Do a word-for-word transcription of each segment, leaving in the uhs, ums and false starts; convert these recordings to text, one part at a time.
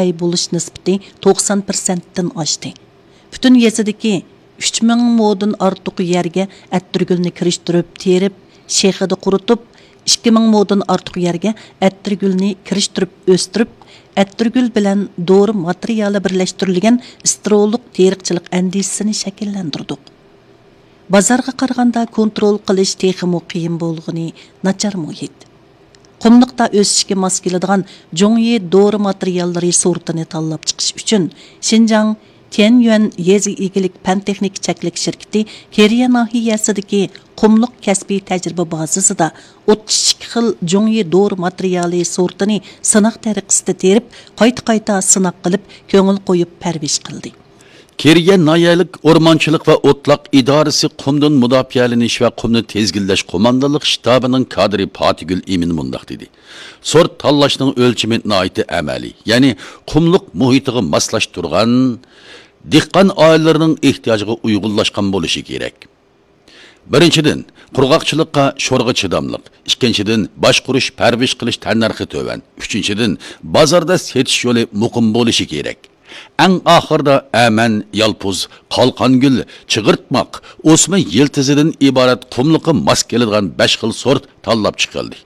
ئەي بولۇش نىسبىتى توقسان پىرسەنتتىن ئاشتى. پۈتۈن يېزىدىكى ئۈچ مىڭ مودىن ئارتۇق يەرگە ئەتىرگۈلنى كىرىشتۈرۈپ تېرىپ، شېخىدا قۇرۇتۇپ، ئىككى مىڭ مودىن ئارتۇق يەرگە ئەتىرگۈلنى كىرىشتۈرۈپ ئۆستۈرۈپ، ئەتىرگۈل بىلەن دورا ماتېرىيالى بىرلەشتۈرۈلگەن ستېرېئولۇق تېرىقچىلىق ئەندىزىسىنى شەكىللەندۈردۇق. بازارغا قارىغاندا كونترول قىلىش تېخىمۇ قىيىن بولغىنى ناچار مۇھىت. قۇملۇقتا ئۆسۈشكە ماس كېلىدىغان جۇڭيى دورا ماتېرىياللىرى سورتىنى تاللاپ چىقىش ئۈچۈن، شىنجاڭ تيەنيۈەن يېزا ئىگىلىك پەن تېخنىكا چەكلىك شىركىتى كېرىيە ناھىيەسىدىكى قۇملۇق كەسپىي تەجرىبە بازىسىدا ئوتتۇز ئىككى خىل جۇڭيى دورا ماتېرىيالى سورتىنى سىناق تەرىقىسىدە تېرىپ، قايتا قايتا سىناق قىلىپ، كۆڭۈل قويۇپ پەرۋىش قىلدى. كېرىيە ناھىيەلىك ئورمانچىلىق ۋە ئوتلاق ئىدارىسى قۇمدىن مۇداپىئەلىنىش ۋە قۇمنى تىزگىنلەش قوماندانلىق شتابىنىڭ كادىرى پاتىگۈل ئىمىن مۇنداق دېدى: سورت تاللاشنىڭ ئۆلچىمى ناھايىتى ئەمەلىي، يەنى قۇملۇق مۇھىتىغا ماسلاشتۇرغان، دېھقان ئائىلىلىرىنىڭ ئېھتىياجىغا ئۇيغۇنلاشقان بولۇشى كېرەك. بىرىنچىدىن، قۇرغاقچىلىققا، شورىغا چىداملىق. ئىككىنچىدىن، باشقۇرۇش، پەرۋىش قىلىش تەننەرخى تۆۋەن. ئۈچىنچىدىن، بازاردا سېتىش يولى مۇقىم بولۇشى كېرەك. ئەڭ ئاخىرىدا ئەمەن، يالپۇز، قالقانگۈل، چىغىرتماق، ئوسما يىلتىزىدىن ئىبارەت قۇملۇققا ماس كېلىدىغان بەش خىل سورت تاللاپ چىقىلدى.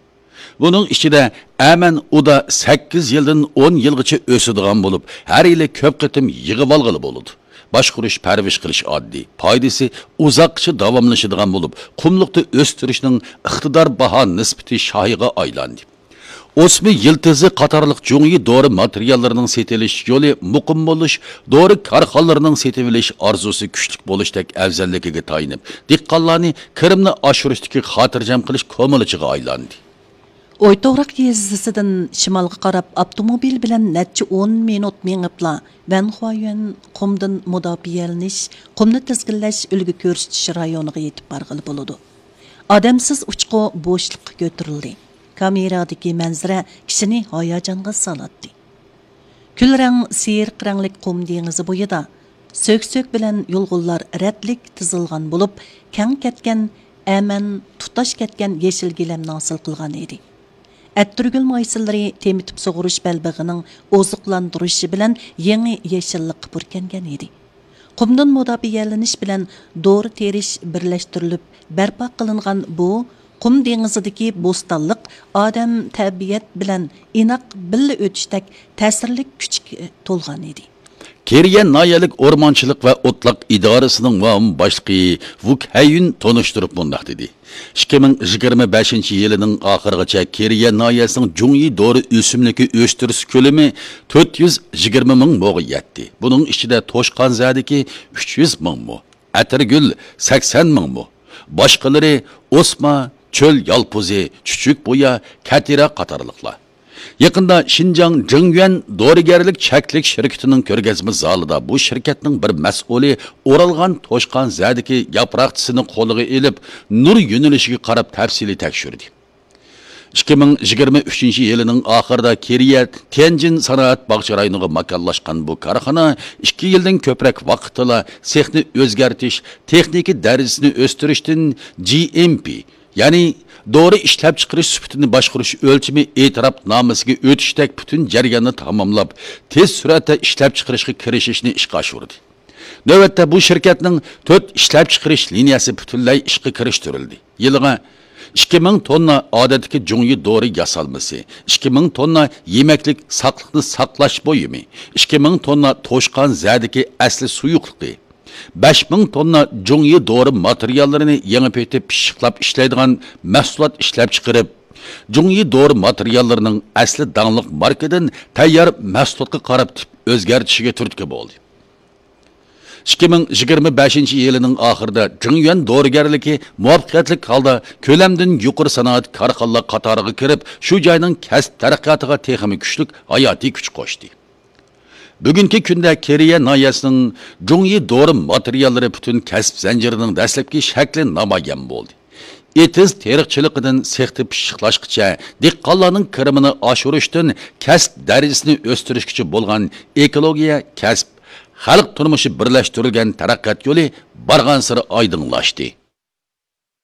بۇنىڭ ئىچىدە ئەمەن ئۇدا سەككىز يىلدىن ئون يىلغىچە ئۆسىدىغان بولۇپ، ھەر يىلى كۆپ قېتىم يىغىۋالغىلى بولىدۇ. باشقۇرۇش، پەرۋىش قىلىش ئاددىي، پايدىسى ئۇزاققىچە داۋاملىشىدىغان بولۇپ، قۇملۇقتا ئۆستۈرۈشنىڭ ئىقتىدار باھا نىسبىتى شاھىغا ئايلاندى. ئوسما يىلتىزى قاتارلىق جۇڭيى دورا ماتېرىياللىرىنىڭ سېتىۋېلىش يولى مۇقىم بولۇش، دورا كارخانىلىرىنىڭ سېتىۋېلىش ئارزۇسى كۈچلۈك بولۇشتەك ئەۋزەللىكىگە تايىنىپ، دېھقانلارنى كىرىمنى ئاشۇرۇشتىكى خاتىرجەم قىلىش كومىلىچىغا ئايلاندى. ئويتوغراق يېزىسىدىن شىمالغا قاراپ ئاپتوموبىل بىلەن نەچچە ئون مىنۇت مېڭىپلا، ۋەنخۇايۈەن قۇمدىن مۇداپىئەلىنىش، قۇمنى تىزگىنلەش، ئۈلگە كۆرسىتىش رايونىغا يېتىپ بارغىلى بولىدۇ. ئادەمسىز ئۇچقۇ بوشلۇققا كۆتۈرۈلدى. كامېرادىكى مەنزىرە كىشىنى ھاياجانغا سالاتتى. كۈل رەڭ سېرىق رەڭلىك قۇم دېڭىزى بويىدا سۆك-سۆك بىلەن يۇلغۇنلار رەتلىك تىزىلغان بولۇپ، كەڭ كەتكەن ئەمەن تۇتاش كەتكەن يېشىل گىلەمنى ھاسىل قىلغان ئىدى. ئەتىرگۈل مايسىلىرى تېمىتىپ سۇغۇرۇش بەلبېغىنىڭ ئوزۇقلاندۇرۇشى بىلەن يېڭى يېشىللىققا پۈركەنگەن ئىدى. قۇمدىن مۇداپىئەلىنىش بىلەن دورا تېرىش بىرلەشتۈرۈلۈپ بەرپا قىلىنغان بۇ قۇم دېڭىزىدىكى بوستانلىق ئادەم تەبىئەت بىلەن ئىناق بىللە ئۆتۈشتەك تەسىرلىك كۈچكە تولغان ئىدى. كېرىيە ناھىيەلىك ئورمانچىلىق ۋە ئوتلاق ئىدارىسىنىڭ مۇئاۋىن باشلىقى ۋۇك ھەييۈن تونۇشتۇرۇپ مۇنداق دېدى: ئىككى مىڭ يىگىرمە بەشىنچى يىلىنىڭ ئاخىرىغىچە كېرىيە ناھىيەسىنىڭ جۇڭيى دورا ئۆسۈملۈكى ئۆستۈرۈش كۆلىمى تۆت يۈز يىگىرمە مىڭ موغا يەتتى. بۇنىڭ ئىچىدە توشقانزەدىكى ئۈچ يۈز مىڭ مو، ئەتىرگۈل سەكسەن مىڭ مو، باشقىلىرى ئوسما، چۆل يالپۇزى، چۈچۈك بويا، كەتىرە قاتارلىقلار. يېقىندا شىنجاڭ جېڭيۈەن دورىگەرلىك چەكلىك شىركىتىنىڭ كۆرگەزمە زالىدا بۇ شىركەتنىڭ بىر مەسئۇلى ئورالغان توشقانزەدىكى ياپراقچىسىنى قولىغا ئېلىپ، نۇر يۆنىلىشىگە قاراپ تەپسىلىي تەكشۈردى. ئىككى مىڭ يىگىرمە ئۈچىنچى يىلىنىڭ ئاخىرىدا كېرىيە تيەنجىن سانائەت باغچە رايونىغا ماكانلاشقان بۇ كارخانا ئىككى يىلدىن كۆپرەك ۋاقىتتىلا سېخنى ئۆزگەرتىش، تېخنىكا دەرىجىسىنى ئۆستۈرۈشتىن جى ئېم پى، يەنى دورا ئىشلەپچىقىرىش سۈپىتىنى باشقۇرۇش ئۆلچىمى ئېتىراپنامىسىگە ئۆتۈشتەك پۈتۈن جەرياننى تاماملاپ، تېز سۈرئەتتە ئىشلەپچىقىرىشقا كىرىشىشنى ئىشقا ئاشۇردى. نۆۋەتتە بۇ شىركەتنىڭ تۆت ئىشلەپچىقىرىش لىنىيەسى پۈتۈنلەي ئىشقا كىرىشتۈرۈلدى. يىلىغا ئىككى مىڭ توننا ئادەتتىكى جۇڭيى دورا ياسالمىسى، ئىككى مىڭ توننا يېمەكلىك ساقلىقنى ساقلاش بۇيۇمى، ئىككى مىڭ توننا توشقانزەدىكى ئەسلى سۇيۇقلۇقى، بەش مىڭ توننا جۇڭيى دورا ماتېرىياللىرىنى يېڭىپ ئېتىپ پىششىقلاپ ئىشلەيدىغان مەھسۇلات ئىشلەپچىقىرىپ، جۇڭيى دورا ماتېرىياللىرىنىڭ ئەسلى داڭلىق ماركىدىن تەييار مەھسۇلاتقا قاراپ تىپ ئۆزگەرتىشىگە تۈرتكە بولدى. ئىككى مىڭ يىگىرمە بەشىنچى يىلىنىڭ ئاخىرىدا جېڭيۈەن دورىگەرلىكى مۇۋەپپەقىيەتلىك ھالدا كۆلەمدىن يۇقىرى سانائەت كارخانىلار قاتارىغا كىرىپ، شۇ جاينىڭ كەسىپ تەرەققىياتىغا تېخىمۇ كۈچلۈك ھاياتىي كۈچ قوشتى. بۈگۈنكى كۈندە كېرىيە ناھىيەسىنىڭ جۇڭيى دورا ماتېرىياللىرى پۈتۈن كەسىپ زەنجىرىنىڭ دەسلەپكى شەكلى نامايان بولدى. ئېتىز تېرىقچىلىقىدىن سېختا پىششىقلاشقىچە، دېھقانلارنىڭ كىرىمىنى ئاشۇرۇشتىن كەسىپ دەرىجىسىنى ئۆستۈرۈشكىچە بولغان ئېكولوگىيە، كەسىپ، خەلق تۇرمۇشى بىرلەشتۈرۈلگەن تەرەققىيات يولى بارغانسېرى ئايدىڭلاشتى.